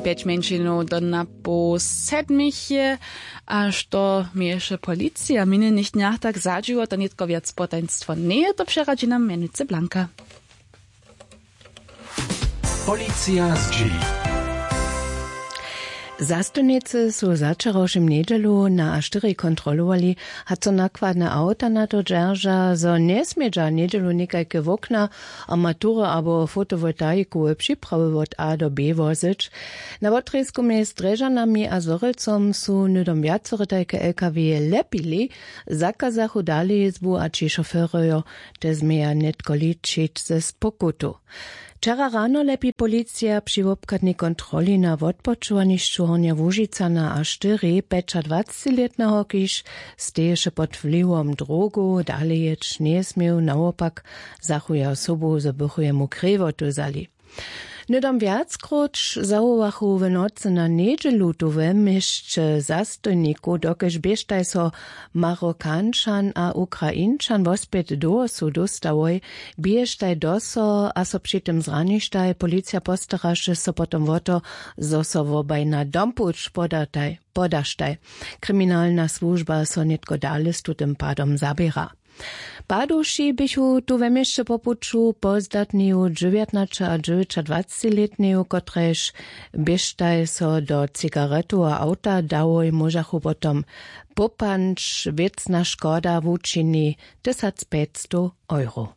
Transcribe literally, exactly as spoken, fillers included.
Pjeć mjeńšinow do na poł sedmich je. A što měješe policija w minjenych dnjach tak zadźiło, to nětko wjac potajnstwo njeje, to přeradźi nam mjenujcy Blanka. Policija zdźěli. Zastojnicy su za wčerawšim njedźelu na a štyri kontrolowali, hač so nakładne awta na to dźerža, zo njesmědźa njedźelu někajke wokna, armatury abo fotowoltaikowe připrawy wot A do B wozyć. Na wotrězku mjez Drježanami a Zhorjelcom su hnydom wjacore tajke L K W lepili, zakazachu dalejězbu a ći šoferojo te změja nětko ličić ze spokutu. Wčera rano lepi policija při wobchadnej kontroli na wotpočowanišću Hornja Łužica na a štyri pjećadwacetlětneho, kiž steješe pod wliwom drogow, dalejěć njesměł, nawopak zachu jeho sobu, zo bychu jemu krěwotu wzali. Hnydom wjackróć zawołachu w nocy na njedźelu tu we měsće zastojnikow, dokelž běštaj so Marokančan a Ukrainčan wospjet do wosu dóstałoj, běštaj do so a so při tym zraništaj. Policija postaraše so potom wo to, zo so wobaj na dompuć podataj podaštaj. Kriminalna słužba so nětko dale z tutym padom zaběra. Padowši běchu tu we měsće po puću pozdatneju dźewjatnaće a dźewjećadwacetlětneju, kotrejž běštaj so do cigaretoweho awta dałoj, móžachu potom popanć. Wěcna škoda wučini tysacpjećstow euro.